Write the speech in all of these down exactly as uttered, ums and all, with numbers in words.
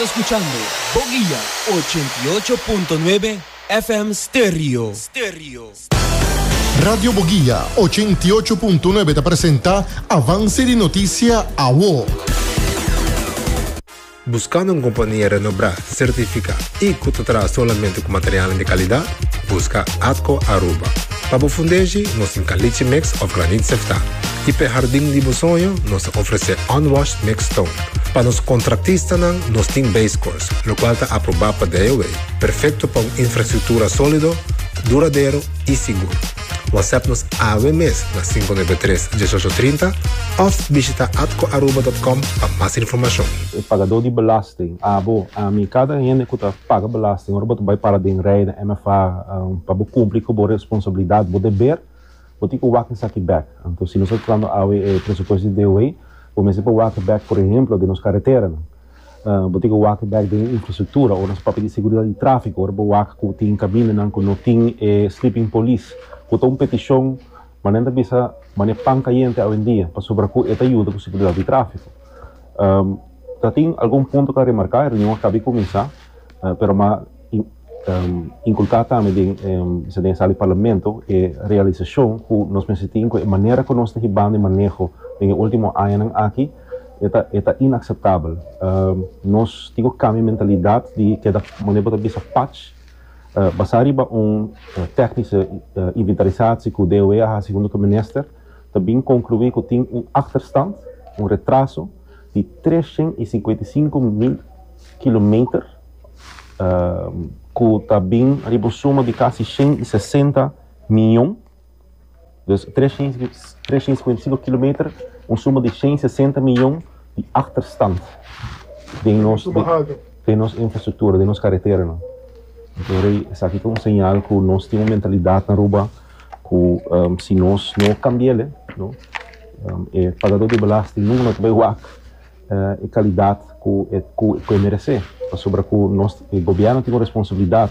Bo ta skuchando Boguia ochenta i ocho punto nuebe F M Stereo. Stereo. Radio Boguia ochenta i ocho punto nuebe ta presentá Avanse di Notisia Awo. Buskando un kompania renombrá, sertifiká i ku ta traha solamente ku material di kalidat? Buska Atco Aruba. Pa bo fundeshi, nos tin caliche mix òf graniet seftá. I pa hardin di bo soño, nos ta ofresé unwashed mixed stone. Pa nos kontratistanan, nos tin base course, lokual ta aprobá pa D O W. Perfekto pa un infrastruktura sólido, duradero i sigur. WhatsApp nos awe mes na sinku nuebe tres, diesocho trinta òf bishitá atcoaruba punto com pa mas informashon. E pagadó di belasting, abo, ami, kada hende ku ta paga belasting, ora bo bai para den rij na M F A, um, pa kumpli ku bo responsabilidat, bo deber, bo tin ku wak esaki bèk. Anto, si nos ta papiando awe e presupuesto di D O W, bo mester por wak bèk, por ehèmpel, di nos karetera. Uh, bo tin ku wak bèk di infrastruktura, òf nos papia di seguridat di tráfiko, òf bo wak ku tin kamindanan ku no tin eh, sleeping police, ku ta un petishon, manera bisa, manera pan kayente awendia, pasobra ku e ta yuda ku seguridat di tráfiko. Um, ta tin algun punto ku remarká, e reunion a kaba di kuminsá, uh, pero m'a um, inkulká tambe den um, den sala di parlamento e realisashon ku nos mester tin ku e manera ku nos ta hibando e maneho den último añanan aki ta ta inakseptabel. Um, nos tin ku kambia mentalidat di ku manera ta bisa patch, uh, basá riba un uh, technische uh, inventarisatie ku D O W a hasi huntu ku minister, tambe konkluí ku tin un achterstand, un retraso di treshen i sinkuenta i sinku mil kilometer, uh, ku tambe riba suma di kasi shen i sesenta mion. Dus treshen i sinkuenta i sinku kilometer, un suma di shen i sesenta mion di achterstand den nos, den nos infrastruktura, den nos karetera. No? Anto, esaki ta un señal ku nos tin un mentalidat na Aruba ku um, si nos no kambia, no, um, e pagadó di belasting no ta bai wak uh, e kalidat ku ku ku meresé. Pasobra ku nos gobièrnu tin un responsabilidat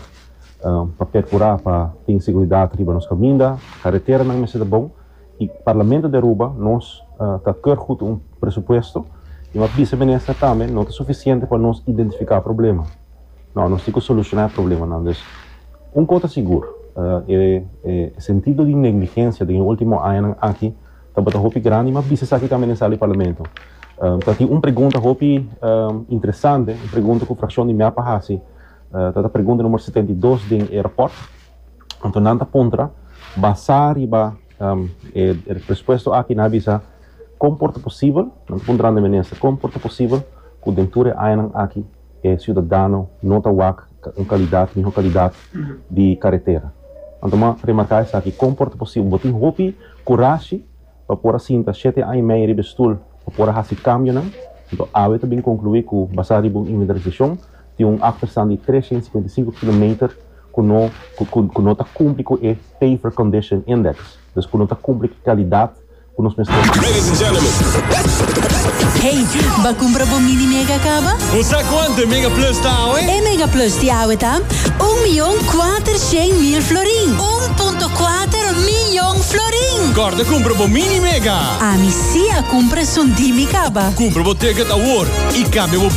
um, pa perkurá pa tin seguridat riba nos kaminda, kareteranan mester bon i parlamento di Aruba nos uh, ta keur goed un presupuesto i m'a bisa minister tambe, no ta sufisiente pa nos identifiká problema. No, nos tin ku solushoná problemanan. Dus, un kos ta sigur, uh, e, e sentido di negligensia di último añanan aki tabata hopi grandi, m'a bisa esaki tambe den sala di parlamento. Um, tin un pregunta hopi um, interesante, un pregunta ku frakshon di MEP a hasi, uh, ta pregunta number setenta i dos di rapport. Anto nan ta puntra, basá riba um, e, e presupuesto aki nan a bisa kon por ta posibel, nan ta puntrando minister, kon por ta posibel ku den tur e añanan aki e siudadano no ta wak un kalidat, mihó kalidat di karetera. Anto m'a remarká esaki, kon por ta posibel, bo tin hopi kurashi pa por sinta shete aña i mei riba stul pa por hasi kambionan. Anto awe tambe konkluí ku basá riba un inventarisashon tin un achterstand di treshen i sinkuenta i sinku kilometer ku no ku, ku no ta kumpli ku e Paver Condition Index. Dus ku no ta kumpli ku kalidat ku nos mester. Ladies and gentlemen. Hey, b'a kumpra bo mini mega kaba? Usa kuantu Mega Plus ta, eh? E Mega Plus di awe ta un mion kuater mil florin. un punto kuater mion florin. Kòrda kumpra bo mini mega. Ami sí a kumpra esun di mi kaba. Kumpra bo ticket awor i kambia bo